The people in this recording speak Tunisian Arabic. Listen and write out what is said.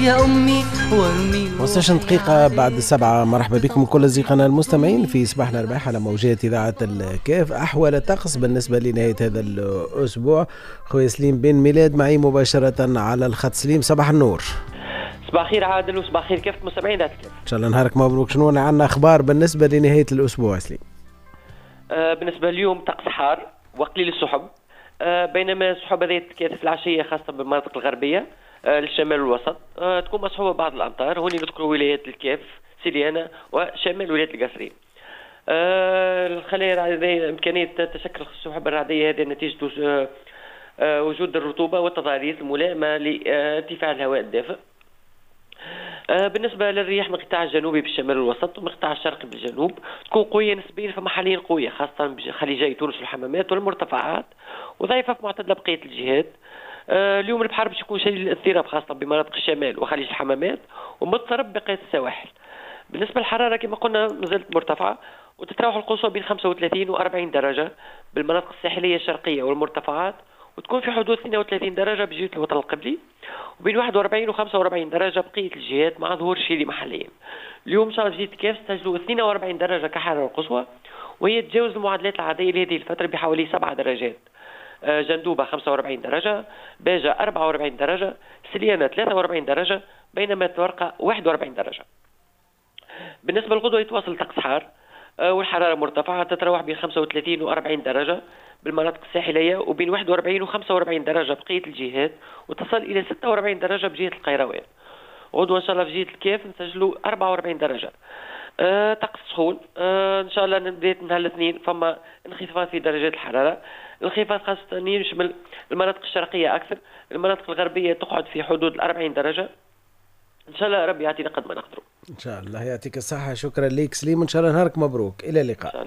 يا أمي وارمي. 15 دقيقة بعد 7. مرحبا بكم كل أصدقائنا المستمعين في صباح الأرباح على موجات إذاعة الكاف. أحوال الطقس بالنسبة لنهاية هذا الأسبوع، خويا سليم بن ميلاد معي مباشرة على الخط. سليم صباح النور. صباح الخير عادل وصباح الخير كيف مستمعين ذات الكاف. إن شاء الله نهارك مبروك. شنو عندنا أخبار بالنسبة لنهاية الأسبوع سليم؟ بالنسبة اليوم طقس حار وقليل السحب، بينما السحب هذه تتكاثف في العشية خاصة بالمناطق الغربية للشمال والوسط، تكون مصحوبة بعض الأمطار. هوني نذكر ولايات الكاف، سليانة وشمال ولاية القصرين. الخلايا الرعدية إمكانية تشكل السحب الرعدية هذه نتيجة وجود الرطوبة والتضاريس الملائمة لارتفاع الهواء الدافئ. بالنسبة للرياح من القطاع الجنوبي بالشمال والوسط ومن القطاع الشرقي بالجنوب تكون قوية نسبيا، فما حاليا قوية خاصة بخليجي تونس والحمامات والمرتفعات، وضعيفة في معتدلة بقية الجهات. اليوم البحر باش يكون شديد الاضطراب خاصة بمناطق الشمال وخليج الحمامات ومضطرب بقية السواحل. بالنسبة للحرارة كما قلنا مازالت مرتفعة وتتراوح القصوى بين 35 و 40 درجة بالمناطق الساحلية الشرقية والمرتفعات، وتكون في حدود 32 درجة بجهة الوطن القبلي، وبين 41 و 45 درجة بقية الجهات مع ظهور شيلي محليا. اليوم إن شاء الله بجهة الكاف سجلوا 42 درجة كحرارة قصوى، وهي تجاوز المعادلات العادية لهذه الفترة بحوالي 7 درجات. جندوبة 45 درجة، باجة 44 درجة، سليانة 43 درجة، بينما تورقة 41 درجة. بالنسبة للغدوة يتواصل طقس حار والحرارة مرتفعة تتراوح بين 35 و 40 درجة بالمناطق الساحلية، وبين 41 و 45 درجة بقية الجهات، وتصل إلى 46 درجة بجهة القيروان. غدوة إن شاء الله في جهة الكاف نسجلوا 44 درجة. طقس سخون. إن شاء الله نبدأ نهار الاثنين فما انخفاض في درجات الحرارة، الانخفاض خاصة يشمل المناطق الشرقية أكثر، المناطق الغربية تقعد في حدود 40 درجة. إن شاء الله ربي يعطينا قد ما نقدروا. إن شاء الله يعطيك الصحة. شكرا لك سليم، إن شاء الله نهارك مبروك. إلى اللقاء.